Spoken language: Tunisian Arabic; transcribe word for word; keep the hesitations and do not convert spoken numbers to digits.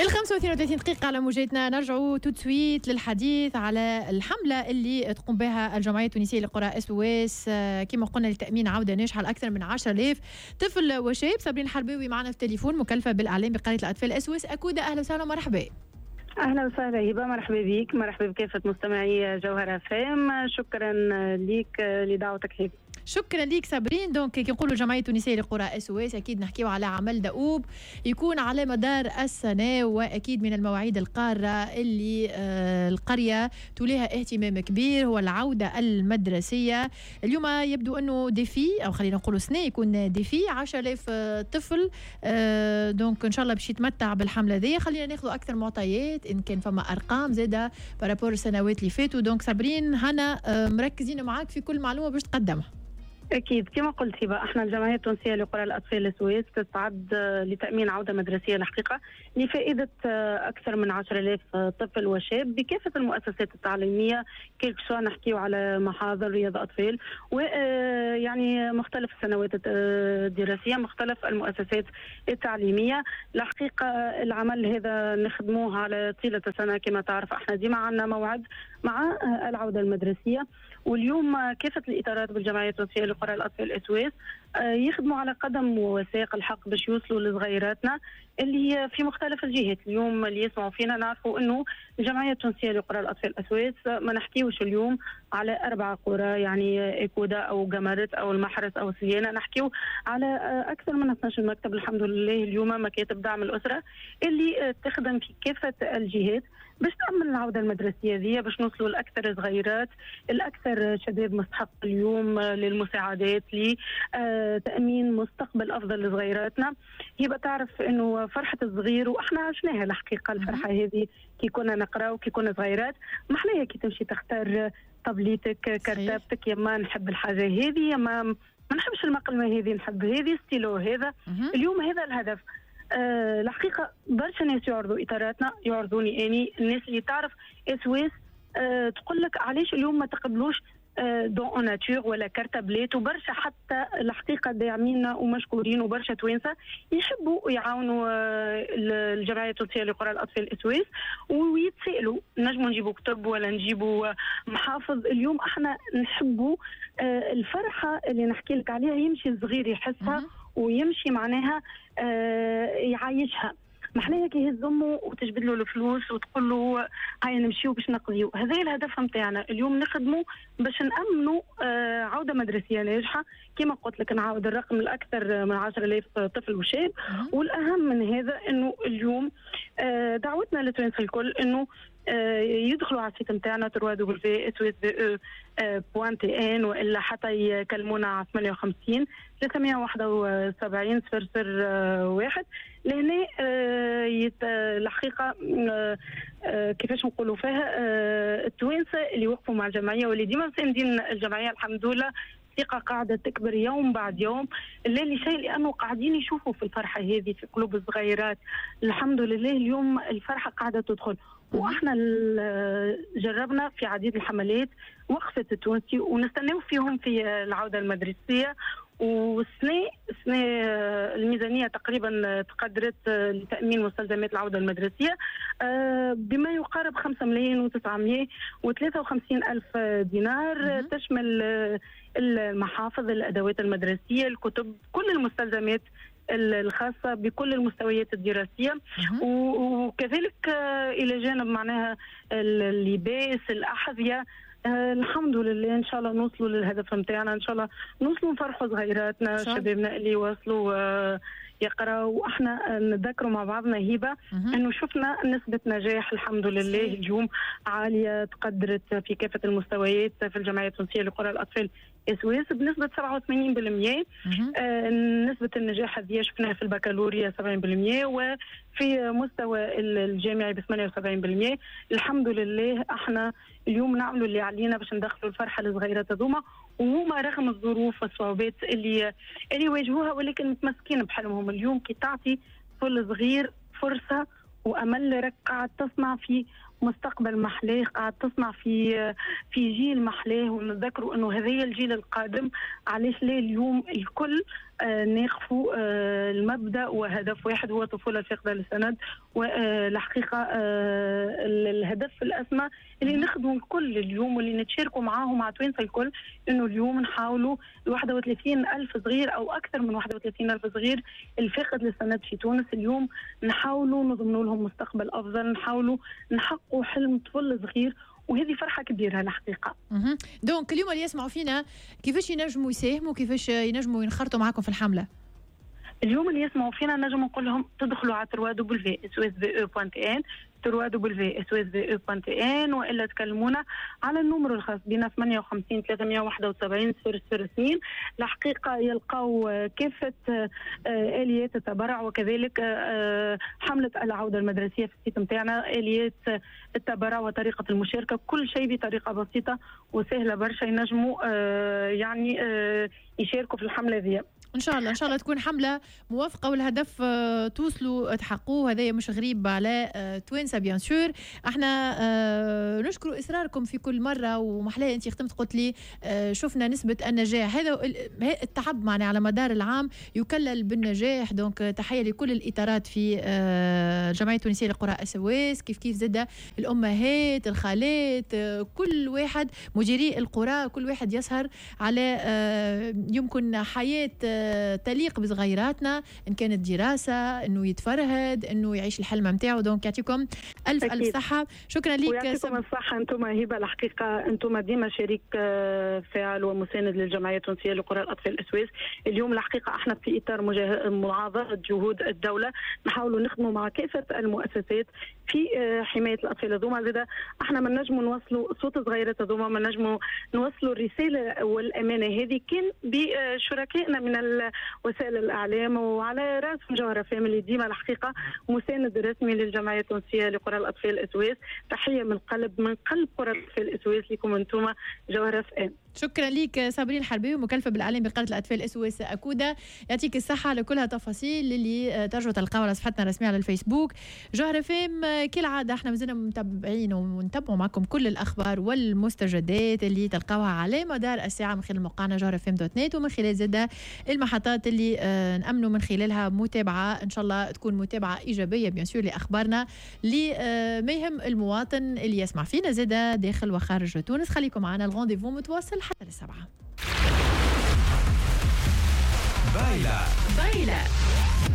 الخمسة واثنين وثلاثين دقيقة على موجاتنا، نرجعوا tout de suite للحديث على الحملة اللي تقوم بها الجمعية التونسية لقرى SOS، كما قلنا لتأمين عودة ناجحة لأكثر من عشرة آلاف طفل وشاب. صابرين الحرباوي معنا في التليفون، مكلفة بالإعلام بقرية الأطفال SOS أكودا. أهلا وسهلا ومرحبا. اهلا وسهلا هبه، مرحبا بك، مرحبا بكافة مستمعي جوهرة FM. شكرا لك لدعوتك هبه. شكرا ليك صابرين. donc كي نقولوا الجمعية التونسية لقرى SOS اكيد نحكيو على عمل دؤوب يكون على مدار السنه، واكيد من المواعيد القارة اللي آه، القرية توليها اهتمام كبير هو العودة المدرسيه. اليوم يبدو انه défi، او خلينا نقولوا سنة يكون défi عشرة آلاف طفل، آه، donc ان شاء الله باش يتمتع بالحمله ذي. خلينا ناخذ اكثر معطيات ان كان فما ارقام زاده par rapport السنوات اللي فاتوا. donc صابرين هنا آه، مركزين معاك في كل معلومة باش تقدمها. اكيد، كما قلت هبه، احنا الجمعية التونسية لقرى الاطفال SOS تستعد لتامين عوده مدرسيه الحقيقة لفائدة اكثر من عشرة آلاف طفل وشاب بكافة المؤسسات التعليميه، quel que soit نحكيو على محاضر رياض اطفال ويعني مختلف السنوات الدراسيه، مختلف المؤسسات التعليميه. الحقيقة العمل هذا نخدموه على طيلة السنه، كما تعرف احنا ديما عندنا موعد مع العودة المدرسيه، واليوم كافة الاطارات بالجمعيه التونسية لقرى الاطفال SOS يخدموا على قدم وساق الحق باش يوصلوا لصغيراتنا اللي في مختلف الجهات. اليوم اللي يسمعوا فينا نعرفوا انه الجمعية التونسية لقرى الاطفال SOS ما نحكيوش اليوم على اربع قرى، يعني اكودا او قمرت او المحرس او سليانه، نحكيو على اكثر من اثنا عشر مكتب الحمد لله اليوم، مكاتب دعم الاسرة اللي تخدم في كافة الجهات باش تأمن العودة المدرسية ذي، باش نوصلوا لأكثر صغيرات، الأكثر شباب مستحق اليوم للمساعدات لتأمين مستقبل أفضل لصغيراتنا. يبقى تعرف أنه فرحة الصغير، وإحنا عشناها الحقيقة الفرحة هذه كي كنا نقرا وكي كنا صغيرات، محلاها كي تمشي تختار طبليتك، كرتابتك، يا ما نحب الحاجة هذه، يا ما ما نحبش المقلمة هذه، نحب هذه، ستيلو هذا. اليوم هذا الهدف. أه الحقيقة برشا ناس يعرضوا اطاراتنا، يعرضوني اني، الناس اللي تعرف SOS أه تقول لك علاش اليوم ما تقبلوش don en nature ولا كرتابلات؟ وبرشا حتى الحقيقة داعمينا ومشكورين، وبرشا توانسة يحبوا يعاونوا آه، الجمعية التونسية لقرى الاطفال SOS ويتسالوا نجموا نجيبوا كتب ولا نجيبوا محافظ. اليوم احنا نحبوا آه، الفرحة اللي نحكي لك عليها يمشي الصغير يحسها ويمشي معناها آه، يعيشها. محلاها كي يهز امه وتجبد له الفلوس وتقول له هيا نمشيو باش نقضيو. هذا الهدف نتاعنا اليوم، نخدموا باش نامنوا آه، عوده مدرسيه ناجحه. كما قلت لك نعاود الرقم، الاكثر من عشرة آلاف طفل وشاب. والاهم من هذا انه اليوم آه، دعوتنا للتوانسه الكل انه آه، يدخلوا على ال site نتاعنا trois W S O S point T N والا حتى يكلمونا على ثمانية وخمسين ثلاثمية وواحد وسبعين صفر صفر واحد. لهنا آه، الحقيقة آه، كيفاش نقولوا فيها، التوانسة اللي وقفوا مع الجمعية واللي ديما مساندين الجمعيه، الحمد لله الثقة قاعدة تكبر يوم بعد يوم، لا لشيء لأنه قاعدين يشوفوا في الفرحة هذه في قلوب الصغيرات. الحمد لله اليوم الفرحة قاعدة تدخل، واحنا جربنا في عديد الحملات وقفة التونسي ونستناو فيهم في العودة المدرسية. والسنة السنة الميزانية تقريبا تقدرت لتأمين مستلزمات العودة المدرسية آه، بما يقارب خمسة ملايين وتسعمية وثلاثة وخمسين ألف دينار، تشمل المحافظ، الأدوات المدرسية، الكتب، كل المستلزمات الخاصة بكل المستويات الدراسية، وكذلك آه، إلى جانب معناها اللباس، الأحذية. آه الحمد لله ان شاء الله نوصلوا للهدف نتاعنا، ان شاء الله نوصلوا نفرحوا صغيراتنا، شبابنا اللي وصلوا آه يقراوا. واحنا نذكروا مع بعضنا هبه انه شفنا نسبه نجاح الحمد لله اليوم عاليه، تقدرت في كافة المستويات في الجمعية التونسية لقرى الاطفال SOS بنسبة سبعة وثمانين بالمية. آه نسبه النجاح هذه شفناها في البكالوريا سبعين بالمية وفي مستوى الجامعي ب ثمانية وسبعين بالمية. الحمد لله احنا اليوم نعملوا اللي علينا باش ندخلوا الفرحة للصغيرات هذوما، وهما رغم الظروف والصعوبات اللي اللي يواجهوها ولكن متمسكين بحلمهم. اليوم كي تعطي طفل صغير فرصة وامل راك قاعد تصنع في مستقبل محلاه، قاعد تصنع في في جيل محلاه، ونتذكروا انه هذا الجيل القادم. علاش لا اليوم الكل آه ناقفوا آه المبدا وهدف واحد هو الطفولة الفاقده للسند، والحقيقة آه الهدف الاسمى اللي نخدموا الكل اليوم واللي نتشاركوا معاهم مع توانسة الكل، انه اليوم نحاولوا واحد وثلاثين ألف صغير او اكثر من واحد وثلاثين ألف صغير الفاقد للسند في تونس اليوم نحاولوا نضمنوا لهم مستقبل افضل، نحاولوا نحققوا حلم طفل صغير، وهذه فرحه كبيرة الحقيقة. donc اليوم اللي يسمعوا فينا كيفاش ينجموا يساهموا، كيفاش ينجموا ينخرطوا معاكم في الحملة؟ اليوم اللي يسمعوا فينا نجم نقول لهم تدخلوا على ثلاثة دبليو اس او اس في او دوت ان، ثلاثة دبليو اس او اس في او دوت ان، والا تكلمونا على ال numéro الخاص بنا ثمانية وخمسين ثلاثمية وواحد وسبعين صفر صفر اثنين. الحقيقة يلقاو كافة اليات التبرع، وكذلك حمله العودة المدرسية في ال site نتاعنا، اليات التبرع وطريقه المشاركة، كل شيء بطريقة بسيطة وسهلة برشا ينجموا يعني يشاركوا في الحملة ذي. ان شاء الله ان شاء الله تكون حمله موافقة والهدف توصلوا تحققوه، هذا مش غريب على توانسة bien sûr. احنا نشكر اصراركم في كل مرة، ومحلاه انت ختمت قلت لي شفنا نسبه النجاح، هذا التعب معنا على مدار العام يكلل بالنجاح. donc تحية لكل الاطارات في الجمعية التونسية لقرى SOS، كيف كيف زاده الامهات، الخالات، كل واحد، مديري القرى، كل واحد يسهر على يمكن حياة تليق بصغيراتنا، ان كانت دراسة، انه يتفرهد، انه يعيش الحلم نتاعو. donc يعطيكم الف أكيد. الف صحة، شكرا لك. ويعطيكم الصحة انتم هبه، الحقيقة انتم ديما شريك فاعل ومساند للجمعية التونسية لقرى الاطفال SOS. اليوم الحقيقة احنا في اطار معاضده جهود الدولة نحاولوا نخدموا مع كافة المؤسسات في حماية الاطفال هذوما. زاده احنا ما نجموا نوصلوا صوت صغيرات هذوما، ما نجموا نوصلوا الرسالة والامانة هذه كان بشركائنا من وسائل الاعلام، وعلى راسهم جوهرة إف إم اللي ديما الحقيقة مساند رسمي للجمعية التونسية لقرى الاطفال SOS. تحية من قلب من قلب قرى الاطفال SOS لكم انتم جوهرة إف إم. شكرا لك صابرين الحربي، مكلفة بالاعلام بقرية الاطفال SOS اكودا. يعطيك الصحة على كلها تفاصيل اللي ترجعوا تلقاوها على صفحتنا الرسمية على الفيسبوك جوهرة إف إم. كالعادة احنا مازلنا متابعين ونتابعوا معكم كل الاخبار والمستجدات اللي تلقاوها على مدار الساعة من خلال موقعنا جوهرة إف إم دوت نت، ومن خلال زاده المحطات اللي نأمنوا من خلالها متابعه، ان شاء الله تكون متابعه ايجابية bien sûr لاخبارنا اللي ما يهم المواطن اللي يسمع فينا زاده داخل وخارج تونس. خليكم معنا، ال rendez-vous متواصل حتى للسبعة. بايلة بايلة.